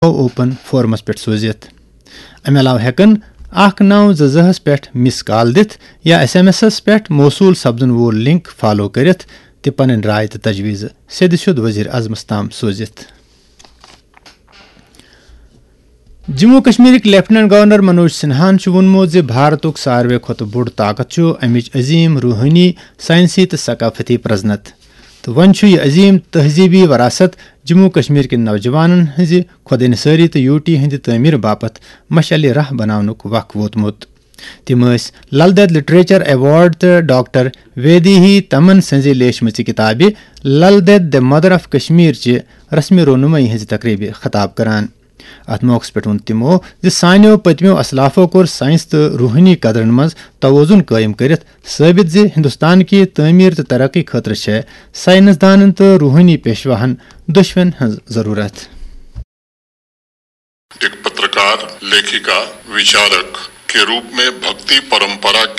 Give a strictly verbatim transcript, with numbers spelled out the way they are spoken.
Open forums پٮ۪ٹھ سوٗزِتھ۔ امہِ علاوٕ ہٮ۪کن اکھ نو زٕ زٕ ہس پٮ۪ٹھ مس کال دِتھ یا ایس ایم ایس پٮ۪ٹھ موصوٗل سپدن وول لنک فالو کٔرِتھ تہِ پنٕنۍ راے تہٕ تجویز سیٚدِ سیوٚد وزیر اعظمس تام سوٗزِتھ۔ جموں کشمیرٕکۍ لیفٹیننٹ گورنر منوج سنہاہن چھُ ووٚنمُت زِ بھارتُک ساروے کھۄتہٕ بوٚڑ طاقت چھُ امِچ عظیم روحٲنی، سائنسی تہٕ ثقافتی پرزنت، تہٕ وۄنۍ چھُ یہِ عظیم تہذیبی وراثت جموں کشمیر کٮ۪ن نوجوانن ہٕنٛزِ خۄد انحصٲری تہٕ یوٹی ہٕنٛدِ تعمیٖر باپتھ مشعلِ راہ بناونُک وق ووتمُت۔ تِم ٲسۍ لل دٮ۪د لٹریچر ایوارڈ تہٕ ڈاکٹر ویدیہی تمن سٕنٛزِ لیچھمٕژِ کِتابہِ لل دٮ۪د، دی مدر آف کشمیر چہِ رسمِ رونمٲیی ہٕنٛزِ تقریبہِ خطاب کران۔ اتھ موقعس پٮ۪ٹھ ووٚن تِمو زِ سانیو پٔتمیو اسلافو کوٚر ساینس تہٕ روحٲنی قدرن منٛز توازن قٲیِم کٔرِتھ ثٲبت زِ ہندوستان کہِ تعمیٖر تہٕ ترقی خٲطرٕ چھےٚ ساینسدانن تہٕ روحٲنی پیشواہن دۄشوٕنۍ ہٕنٛز ضروٗرت۔ एक पत्रकार, लेखिका, विचारक के रूप में भक्ति परंपरा